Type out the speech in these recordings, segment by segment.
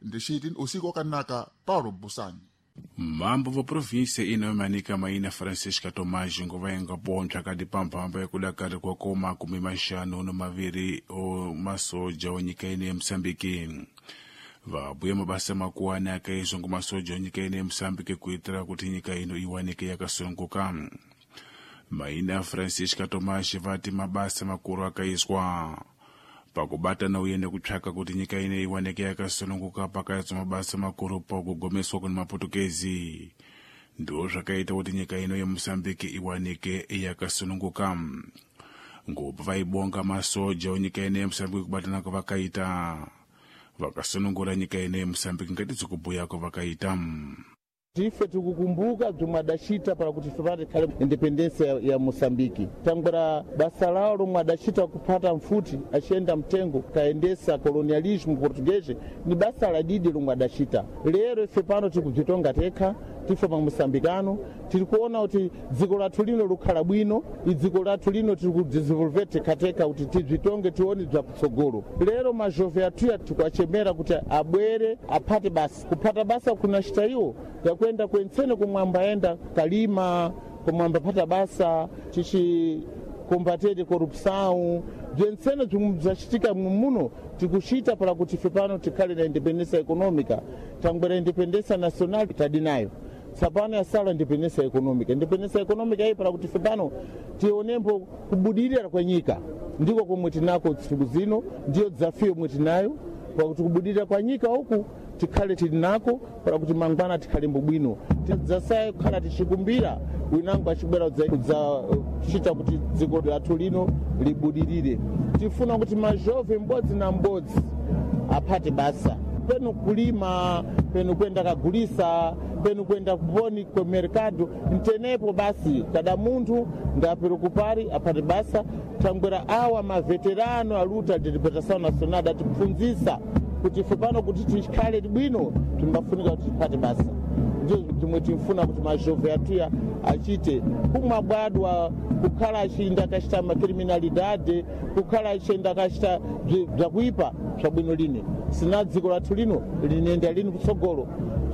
Ndixiti usiku wakanaka Paulo Busani. Mambo va província inomanika maina Francisca Tomás ngovaenga pontsa kati pamphamba yakudakari kwa koma kumi maxanu no maviri o masoja onyika ine ya Moçambique. Vabuya mabasa makuwani akaizwa ngo masoja onyika ine ya Moçambique kuitira kuti nyika ino iwanike yakasununguka. Maina Francisca Tomás vati mabasa makuru akaizwa pakubatana uye nekutsvaka kuti nyika ine iwanike yakasununguka pakaizwa mabasa makuru pakugomeswa kune maputukezi. Ndo zvakaita kuti nyika ino yeMozambique iwanike yakasununguka. Ngopa vaibonga masoja onyika ine yeMozambique kubatana kwavakaita, vakasunungura nyika ine yeMozambique ngatizokubhuya kwavakaita. Tife tikukumbuka bzomwe adacita para kuti ife patikhale independência ya Moçambique. Tangwera basa lawo lomwe adacita kuphata mfuti aciyenda mtengo kayendesa colonialismo português ni basa ladidi lomwe adacita. Lero ife pano tikubzitonga tekha, tife pa moçambicano, tiri kuona kuti dziko lathu lino likhala bwino, idziko lathu lino tiri kudzidesenvolver tekhateka kuti tibzitonge tione bzakutsogolo. Lero majove athuya tikuachemera kuti abwere aphate basa. Kuphata basa kunacita iwo yakwenda kwentsene komwe ambayenda kalima, komwe ambaphata basa, chichi combater corrupção, bzentsene bzomwe bzacitika muno tikucita para kuti ife pano tikhale na independência econômica. Tangwera independência nacional tadi nayo, tsapano yasala independência econômica. Independência econômica iyi para kuti ife pano tionembo kubudirira kwa nyika, ndiko komwe tinako tsiku zino, ndiyo desafio yomwe tinayo pakuti kubudirira kwa nyika uku tikhale tili nako para kuti mangwana tikhalembo bwino, tidzasaye kukhala tichikumbira winango achibwera kudzachita kuti dziko lathu lino libudirire. Tifuna kuti majove m'bodzi na m'bodzi aphate basa, penu kulima, penu kwenda kagulisa, penu kwenda kuponi ku mercado ntenepo basi kada munthu ngaperokupari aphate basa. Thangwera awa maveterano a luta de libertação nacional adatipfunzisa kuti ife pano kuti tikhale bwino timbafunika kuti tiphate basa. Ndizo zimwe timfuna kuti majove athuya achite kumabwadwa kukhala achinda akachita macriminalidade, kukhala achinda akachita bzakuipa bwabwino lini sina dziko lathu lino linenda lini kutsogolo.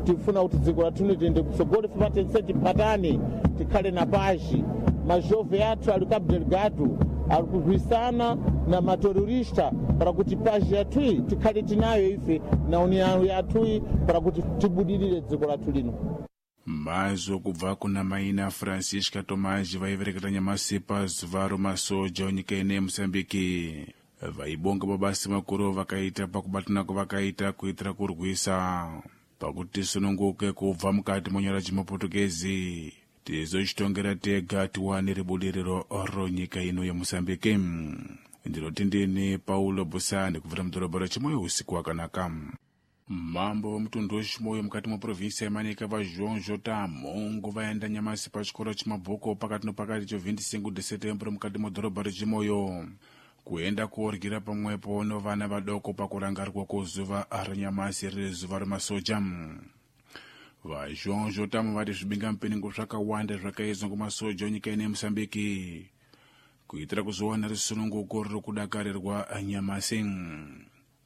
Tifuna kuti dziko lathu lino liyende kutsogolo, ife patense tiphatane tikhale na pazhi. Majove athu ali Cabo Delgado ali kurwisana na materorista para kuti pazhi yathuyi tikhale tinayo ife na união yathuyi para kuti tibudirire dziko lathu lino. Mazo kubva kuna maina Francisca Tomás vaivereketa nyamasi pa zuva romasoja onyika ine yeMozambique. Vaibonga mabasa makuru vakaita pakubatana kwavakaita kuitira kurwisa pakuti tisununguke kubva mukati monyora chimaputukezi, tizochitongera tega tiwane ribudiriro ronyika ino yeMozambique. Ndinoti ndini Paulo Busani kubvira mudhorobha reChimoio. Usiku wakanaka. Mambo wemutundu weChimoio mukati mweprovinsi yaManica vaJoão Jota Mongo vaenda nyamasi pachikoro chemabhuku pakati nopakati cho 25 de setembro mukati mwedhorobha reChimoio kuenda kuoryira pamwepo novana vadoko pakurangarirwa kwozuva ranyamasi riri zuva remasoja. VaJoão Jotamo vati zvibingamupingo zvakawanda zvakaizwa ngomasoja enyika ino yeMozambique kuitira kuzowana rusununguko ruri kudakarirwa nyamasi.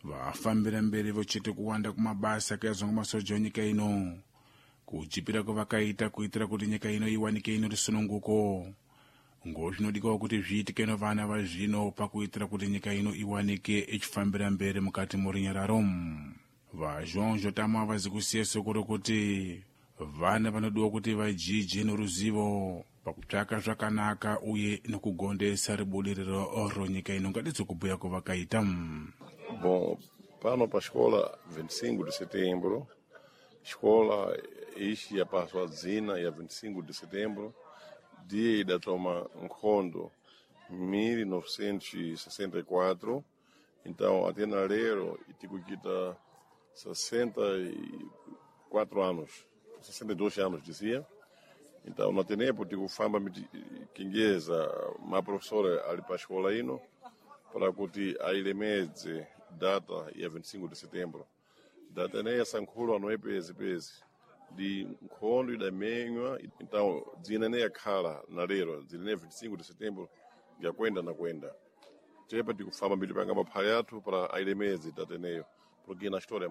Vafambira mberi vochete kuwanda kumabasa akaizwa ngomasoja enyika ino, kuchipira kwavakaita kuitira kuti nyika ino iwanike ino rusununguko, ngozvinodikawo kuti zviitike novana vazvino pakuitira kuti nyika ino iwanike ichifambira mberi mukati morunyararo. VaJoão Jotamo havazi kusiya soko rokuti vana vanodiwa kuti vajije noruzivo pakutsvaka zvakanaka uye nokugondesa ribudiriro ronyika ino ngatidzokubhuya kwavakaita. Bom, pano para a escola 25 de setembro, escola ishi yapaswa dzina ya 25 de setembro, dia idatoma nkhondo 1964. Então até na lero tikuchita 64 anos, 62 anos dizia. Então na tenepo tikufamba kinjeza ma professora ali pa escola ino para kuti ailemedze data ya 25 de setembro. Data ineyi yasankhulwa noyepezepezi ndi nkhondo idamenywa, então dzina ineyi yakhala na lero dzina ineyi 25 de setembro yakwenda na kwenda. Tepa tikufamba mbiri panga maphali athu para ailemedze data ineyo porque na história.